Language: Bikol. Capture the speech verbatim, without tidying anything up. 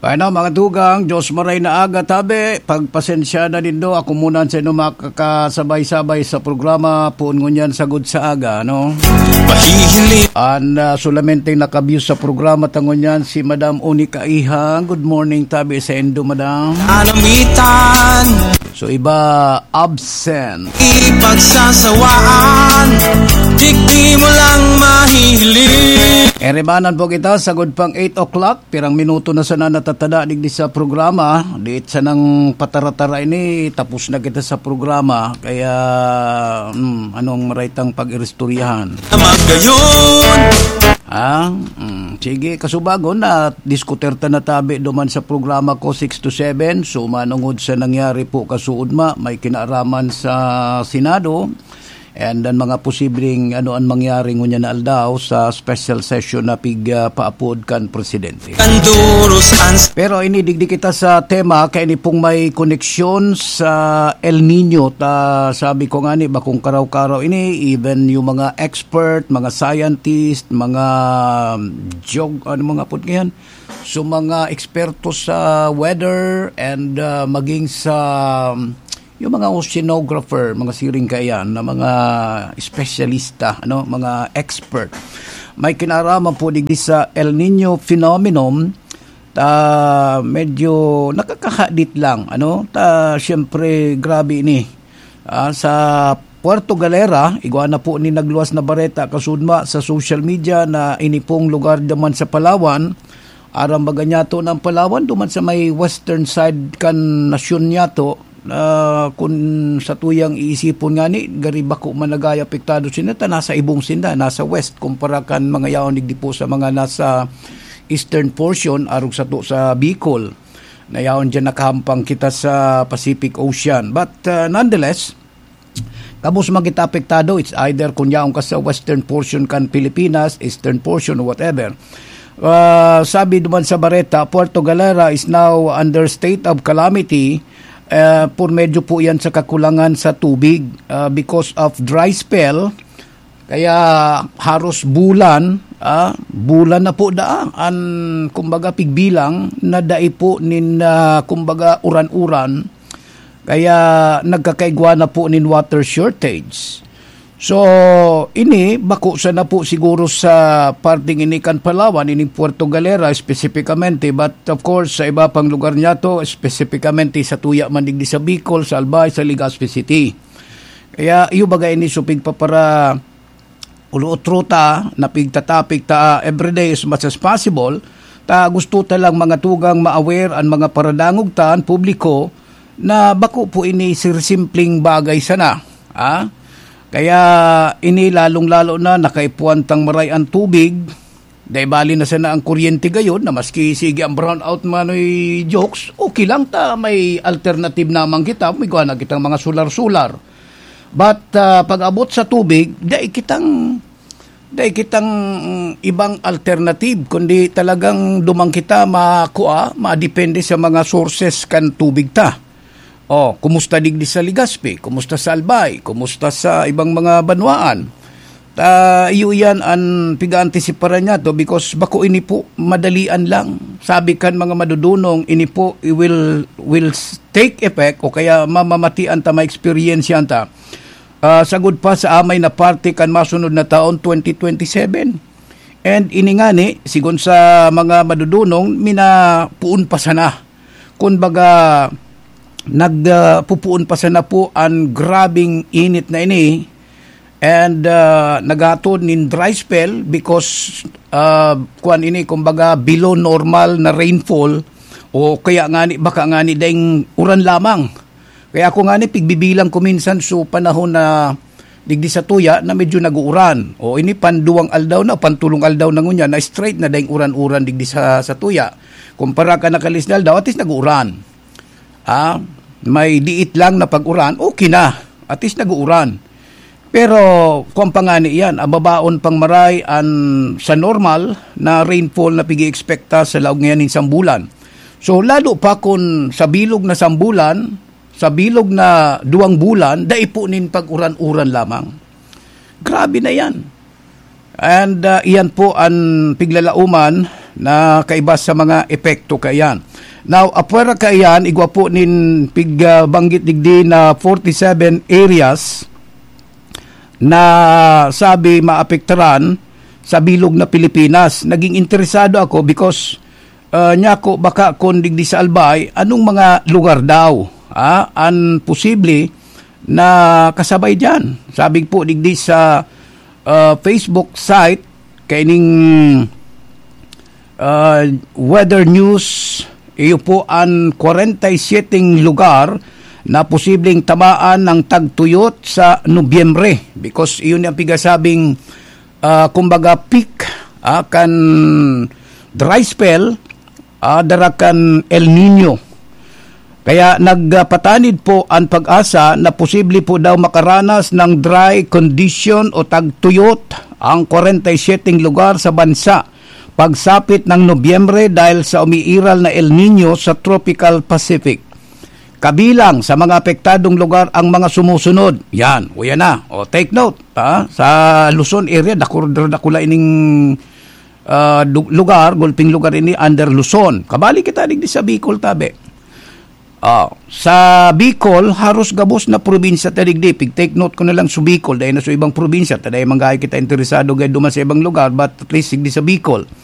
Ano, mga tugang, Diyos maray na aga, tabi. Pagpasensya na nindo, ako muna sa inyo makakasabay-sabay sa programa, poon ngunyan sagod sa aga, no? Pahihiling. An, ah, solamente nakabiyo sa programa ta ngunyan, si Madam Onika Ihang. Good morning, tabi sa indo, Madam. Anamitan. So, iba, absent. Ipagsasawaan, digdi mo lang mahihiling. Eribanan po kita, sagod pang eight o'clock. Pirang minuto na sana natatada digdi sa programa. Diit sanang patara-tara ini, tapos na kita sa programa. Kaya, hmm, anong maray tang pag-iristoryahan? Magayon. Ah, hmm, sige, kasubagon na diskuter ta na tabi duman sa programa ko, six to seven. So, manungod sa nangyari po kasuodma, may kinaaraman sa Senado. And ang mga posibleng ano ang mangyari ngunyan na aldaw sa special session na pig, ah, paapod kan presidente. Kanduros ang Pero ini, digdi kita sa tema, kaya ini pong may koneksyon sa El Nino. Ta, sabi ko nga ni, bakong karaw-karaw ini, even yung mga expert, mga scientist, mga, um, geog-, ano mga po yan? So, mga eksperto sa weather and, ah, maging sa, um, yung mga oceanographer, mga siring kaiyan, na mga espesyalista, ano, mga expert. May kinaraman po digdi sa El Nino phenomenon, ta medyo nakakahadit lang, ano, ta siyempre grabe ini. Ah, sa Puerto Galera, igwa na po ni nagluwas na bareta kasudma sa social media na ini pong lugar naman sa Palawan, aram baga niyato ng Palawan, duman sa may western side kan nasyon niyato, ah, kun sa tuyang iisipon ngani, gari bako man nagay apektado sinda, ta nasa ibong sinda, nasa west, kumpara kan mga yaon digdi po sa mga nasa eastern portion, arog sato sa Bicol. Na yaon diyan nakahampang kita sa Pacific Ocean. But, ah, nonetheless, kabos man kita apektado, it's either kun yaon ka sa western portion kan Pilipinas, eastern portion, whatever. Ah, sabi duman sa bareta, Puerto Galera is now under state of calamity, eh, por medyo po yan sa kakulangan sa tubig, ah, because of dry spell. Kaya haros bulan, ah, bulan na po daa an, kumbaga, pigbilang na dai po nin, ah, kumbaga, uran-uran. Kaya nagkakaigwa na po nin water shortage. So, ini, bako sana po siguro sa parting ini kan Palawan, ini Puerto Galera, espesipikamente. But, of course, sa iba pang lugar niyato, espesipikamente sa tuya man digdi sa Bicol, sa Albay, sa Legazpi City. Kaya, iyo baga ini supig pa para ulo-utro ta, na pigtatapik ta everyday as much as possible. Ta gusto ta lang mga tugang ma-aware an mga paradangog ta, an publiko, na bako po ini sir simpleng bagay sana. Ah? Kaya ini lalong-lalo na nakaipuan tang maray an tubig, dai bali na sana ang kuryente gayon na maski sige ang brownout manoy jokes, okay lang ta may alternative naman kita, may gawa na kitang mga solar-solar. But, ah, pag-abot sa tubig, dai kitang, dai kitang, mm, ibang alternative, kundi talagang duman kita makua, madepende sa mga sources kan tubig ta. Oh, kumusta digdi sa Legazpi? Kumusta sa Albay? Kumusta sa ibang mga banwaan? Ta, iyo iyan an piga-antisiparan niyato because bako ini po madalian lang. Sabi kan mga madudunong, ini po, it will, will s-, take effect o kaya mamamatian ta, ma-experience yan ta, ah, sagod pa sa amay na parte kan masunod na taon, twenty twenty-seven. And ini ngani, sigon sa mga madudunong, minapuon pa sana. Kun baga, nag, ah, pupuon pa sana po an grabing init na ini, and, ah, naghatod nin dry spell because, ah, kuwan ini, kumbaga, below normal na rainfall o kaya ngani, baka ngani daing uran lamang. Kaya ako ngani, pigbibilang ko minsan so panahon na digdi sa tuya na medyo nag-uuran. O ini, panduwang aldaw na, pantulong aldaw na ngunyan na straight na daing uran-uran digdi sa, sa tuya. Kumpara ka nakalis na aldaw, at least nag-uuran. Ah, may diit lang na pag-uran, okay na. At least nag-uuran. Pero, kung pangani yan, ang babaon pang maray an sa normal na rainfall na pigi-ekspekta sa laog ngayan nin sambulan. So, lalo pa kung sa bilog na sambulan, sa bilog na duwang bulan, dai po nin pag-uran-uran lamang. Grabe na yan. And, ah, iyan po an piglalauman na kaiba sa mga epekto kaiyan. Now, apwera kaiyan, igwa po nin pig, ah, banggit digdi na forty-seven areas na sabi maapektaran sa bilog na Pilipinas. Naging interesado ako because, ah, niya ko baka kung digdi sa Albay, anong mga lugar daw, ah, ang posible na kasabay diyan? Sabi po digdi sa, ah, Facebook site, kaining, ah, weather news, iyo po ang kwarenta y siyete lugar na posibleng tamaan ng tagtuyot sa Nobyembre, because iyon ang pigasabing, ah, kumbaga, peak, ah, kan dry spell, ah, dara kan El Nino. Kaya nagpatanid po ang PAGASA na posible po daw makaranas ng dry condition o tagtuyot ang kwarenta y siyete lugar sa bansa pagsapit ng Nobyembre dahil sa umiiral na El Nino sa Tropical Pacific. Kabilang sa mga apektadong lugar ang mga sumusunod. Yan, o yan na. O, take note, ha? Sa Luzon area, dakul-, dakula ining, ah, du-, lugar, gulping lugar ini under Luzon. Kabali kita digdi sa Bicol, tabi. Ah, sa Bicol, haros gabos na probinsya ta digdi. Pig-take note ko na lang sa Bicol, dahil na sa ibang probinsya, ta dahil manggahay kita interesado gaya duman sa ibang lugar, but at least digdi sa Bicol.